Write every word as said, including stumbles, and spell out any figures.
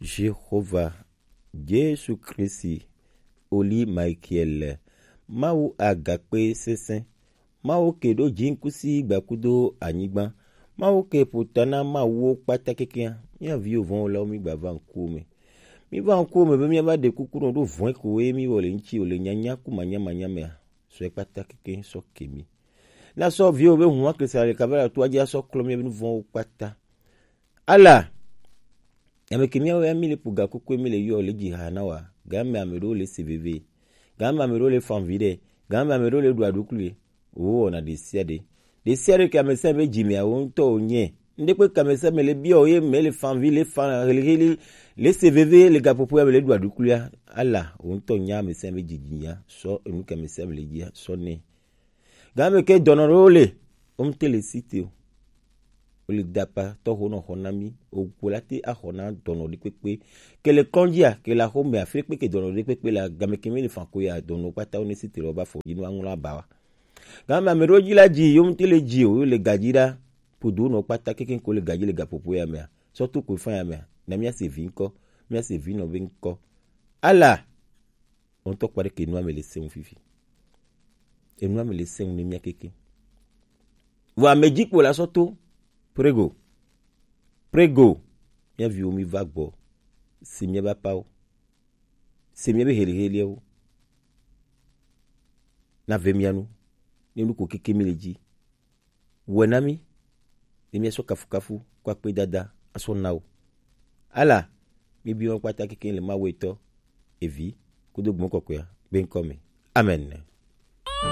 Jehova, Jesu Kristi, Oli Michael, Mawu agakpe sese, Mawu ke ɖo jinkusi gbakudo anyigba, Mawu ke ƒota na mawuwo kpata kekeŋ, mía viwo vɔ̃wɔlawo mí gba va ŋkuwò me. Mí va ŋkuwò me be mía va ɖe kuku nɔ ɖo vɔ̃e ko ye mí wɔ le ŋuti wòle nyanya ku manyamanya mea, sɔ ye kpata kekeŋ sɔ ke mí. Na sɔ viwo be huma ke sa le kaba la toa dzi asɔ klɔ mía be nu vɔ̃wo kpata. Ala, ame ke míawo ya míle ƒo gakokue míle yɔ le dzi ha na wa, game ame ɖewo le se veve, game ame ɖewo le fan vi ɖe, game ame ɖewo le ɖu aɖukli, wò wɔna ɖe sia ɖe. Ɖe sia ɖe ke ame sia ame be dzi mea, wò ŋutɔ wò nye. Ŋɖe kpe ke ame sia ame le biɔ ye me le fan vi, le fan heliheli, le se veve, le gaƒoƒo ya me le ɖu aɖuklia, ala, wò ŋutɔ nya ame sia ame be dzidzi nya, sɔ enu ke ame sia ame le dzia, sɔ nɛ. Game ke dɔnɔ ɖewo le, wo ŋute le si te o. Wole dapa tɔxo nɔ xɔ na mí. Ogo la te axɔ na dɔnɔ ɖe kpekpe. Ke le kɔndzia, ke le axɔ mea, afi ɖe kpe ke dɔnɔ ɖe kpekpe le game ke mi le fan ko ya, dɔnɔ kpata wo ne si te lɔ ba fɔ dzi no aŋlɔ aba wa. Game ame ɖewo dzi la dzi, yo ŋute le dzi o, yo le gadzi ɖa. Podo nɔ kpata kekeŋ ko le gadzi le gaƒoƒo ya mea. Sɔ to ko fa ya mea. Na mía se vi ŋkɔ, mía se vi nɔ be ŋkɔ. Ala! Wo ŋutɔ kpɔ ɖe ke enua me le sẽŋu fifi. Enua me le sẽŋu ne mía keke. Vɔ ame dzi kpo la sɔ to. Prego. Prego. Mía viwo mi va gbɔ. Se mía be apawo. Se mía be heliheliawo. Na ve mía nu. Ne nu ko keke mi le dzi. Wɔe na mí, ne míasɔ kafukafu kple akpedada asɔ na wò. Ala, míebi wọn kpata kekeŋ le Mawu etɔ, Evi, kudo Gbɔgbɔ Kɔkɔea be ŋkɔ me. Amen.